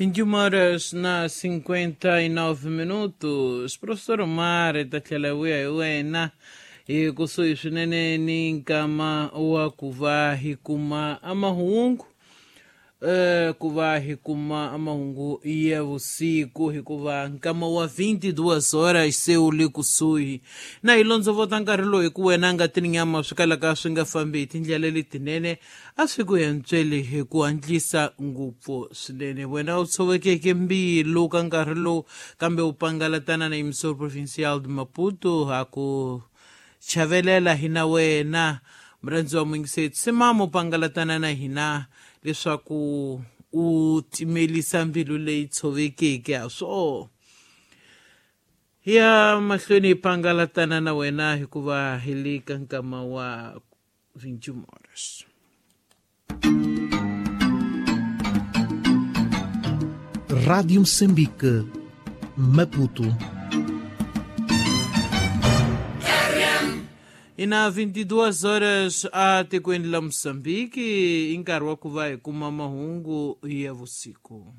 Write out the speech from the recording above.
21 horas na 59 minutos. Professor Omar ta tlhela vuya hi wena hi kusuhi swinene ni nkama wa ku va hi kuma amahungu, ku va hi kuma amahungu ya vusiku, hikuva nkama wa 22 horas se wu le kusuhi na hi londzovota nkarhi lowu, hi ku wena nga ti ni nyama swi kalaka swi nga fambi hi tindlela letinene, a swi ku hentsweli hi ku hatlisa ngopfu swinene. Wena u tshovekeke mbilu ka nkarhi lowu, kambe u pangalatana na Emissor Provincial de Maputo, ha ku chavelela hina wena murhandzi wa muyingiseri. Simama u pangalatana na hina leswaku u timelisa mbilu leyi tshovekeke. Ha swo ya mahlweni hi pangalatana na wena, hikuva hi le ka nkama wa 21 horas. Rádio Moçambique, Maputo. Ina 22 horas a tikweni la Moçambique, i nkarhi wa ku va hi kuma mahungu ya vusiku.